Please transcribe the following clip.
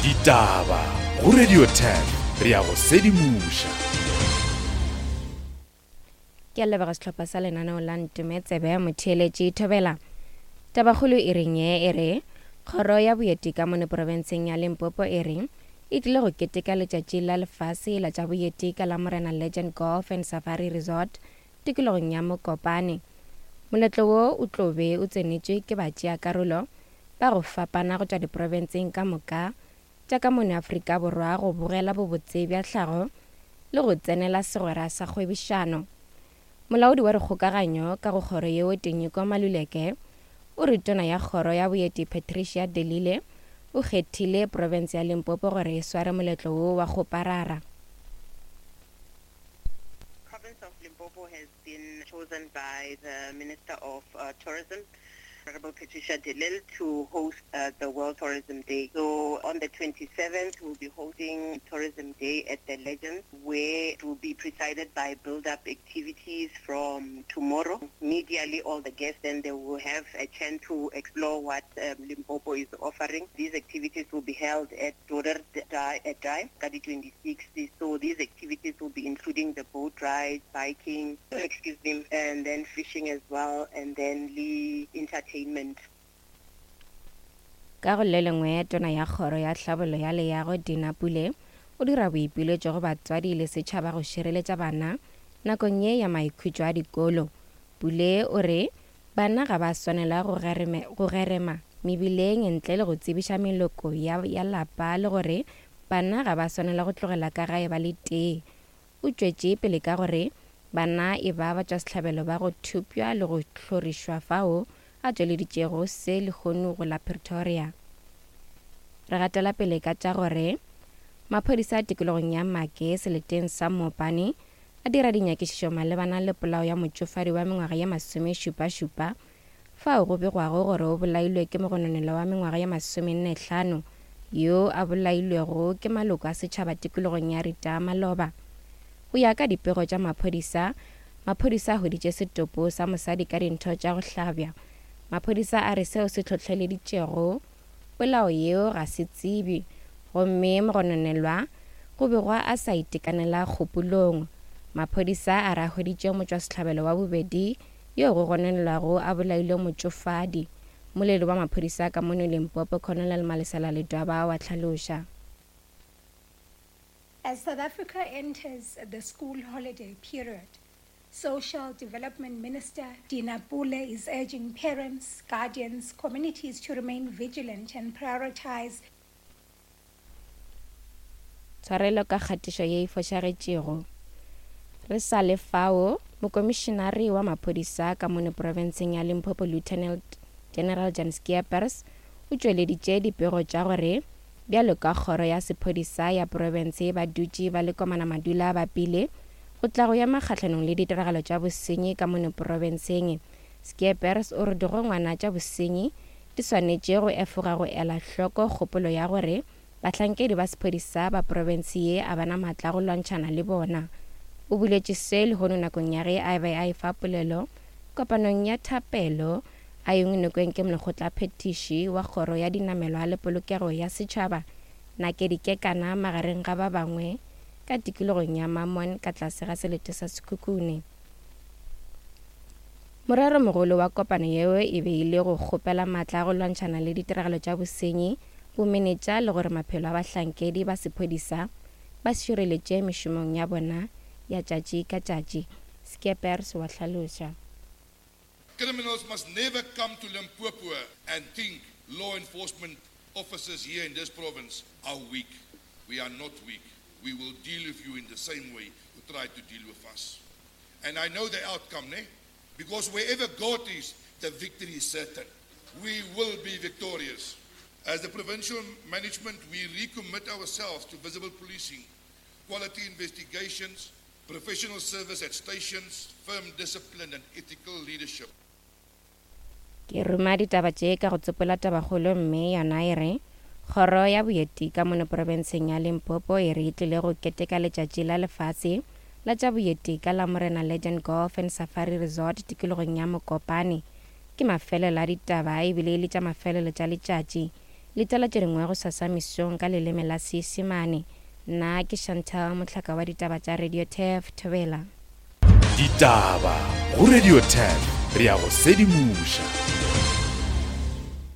Ditaba go Radio 10 re ya go sedimoša. Ke a leboga sehlopha sa lenaneo la Ntume Tsebe Motheeletši Thobela. Tabakgolo e reng ye e re Kgoro ya Boeti ka mono profenseng ya Limpopo e re e tlile go keteka letšatši la lefase la tša boeti ka Lamorena Legend Golf and Safari Resort tikologong ya Mokopane. Moletlo wo o tlo be o tsenetšwe ke batšeakarolo ba go fapana go tšwa diprofenseng ka moka tša ka mono Afrika Borwa go bogela bobotse bja tlhago le go tsenela segwera sa kgwebišano. Molaodi wa dikgokaganyo ka go kgoro yeo Tinyiko Maluleke o re tona ya kgoro ya boeti Patricia de Lille o kgethile profense ya Limpopo gore e sware moletlo wo wa kgoparara. Province of Limpopo has been chosen by the Minister of uh, Tourism, Honorable Patricia de Lille, to host uh, the World Tourism Day. So on the 27th, we'll be holding Tourism Day at the Legends, where it will be presided by build-up activities from tomorrow. Immediately, all the guests, then they will have a chance to explore what um, Limpopo is offering. These activities will be held at Dorer Dai, 26. So these activities will be including the boat ride, biking, excuse me, and then fishing as well, and then the entertainment. Ka go le lengwe, tona ya kgoro ya tlhabollo ya leago Dina Pule o dira boipiletšo go batswadi le setšhaba go šireletša bana nakong ye ya maikhutšo a dikolo. Pule o re bana ga ba swanela go go gerema mebileng ntle le go tsebiša meloko ya, ya lapa le gore bana ga ba swanela go tlogela ka gae ba le tee. O tšwetše pele ka gore bana e ba batšwasehlabelo ba go thopša le go hlorišwa fao a tšweleditšego se lehono go la Pretoria. Re gatela pele ka tša gore maphodisa a tikologong ya Make seleteng sa Mopani a dira dinyakišišo malebana le polao ya motšofadi wa mengwaga ye masomešupašupa fao go begwago gore o bolailwe ke mogononelwa wa mengwaga ye masomenne-hlano yo a bolailwego ke maloko a setšhaba tikologong ya Ritaa maloba. Go ya ka dipego tša maphodisa, maphodisa a hweditše setopo sa mosadi ka dintho tša go hlabja. Maphodisa a re seo se hlohleleditšego polao yeo ga se tsebje gomme mogononelwa go begwa a sa itekanela kgopolong. Maphodisa a re a hweditše motšwasehlabelo wa bobedi yo go gononelwago a bolailwe motšofadi. Mmoledi wa maphodisa ka mono Limpopo, Colonel Malesela Ledwaba wa hlaloša. As South Africa enters the school holiday period, Social Development Minister Dina Pule is urging parents, guardians, communities to remain vigilant and prioritize Tshwarelo ka kgatišo ye e fošagetšego. Re sa le fao, Mokomišenare wa maphodisa ka mono profenseng ya Limpopo Lieutenant General Jan Skeepers o tšweleditše dipego tša gore bjalo ka kgoro ya sephodisa ya profense ba dutše ba le komana madula ba pile go tla go ema kgahlanong le ditiragalo tša bosenyi ka mono profenseng. Skeepers o re digongwana tša bosenyi di swanetše go efoga go ela hloko kgopolo ya gore bahlankedi ba sephodisa ba profense ye a ba na maatla a go lwantšhana le bona. O boletše se lehono nakong ya ge a be a efa polelo kopanong ya thapelo a yengwe nokeng ke molekgotlaphethiši wa kgoro ya dinamelwa le polokego ya setšhaba Nakedi Kekana magareng ga ba bangwe ka tikologong ya Mammon ka tlase ga selete sa Sekhukhune. Moreromogolo wa kopano yeo e be e le go kgopela matla a go lwantšhana le ditiragalo tša bosenyi, bomenetša le gore maphelo a bahlankedi ba sephodisa ba šireletše mešomong ya bona ya tšatši ka tšatši, Skeepers wa hlaloša. Criminals must never come to Limpopo and think law enforcement officers here in this province are weak. We are not weak. We will deal with you in the same way you try to deal with us. And I know the outcome, ne? Because wherever God is, the victory is certain. We will be victorious. As the provincial management, we recommit ourselves to visible policing, quality investigations, professional service at stations, firm discipline and ethical leadership. Ke ruma ditaba tše ka go tsopola tabakgolo mme yona e re, Kgoro ya Boeti ka mono profenseng ya Limpopo e re e tlile go keteka letšatši la lefase la tša boeti ka Lamorena Legend Golf and Safari Resort tikologong ya Mokopane. Ke mafelelo a ditaba ebile e le tša mafelelo tša letšatši. Letela tše dingwe gosasa mesong ka leleme la Seisemane. Nna ke Chantal Mohlaka wa ditaba tša Radio Turf, Thobela. Ditaba go Radio Turf, re a go sedimoša.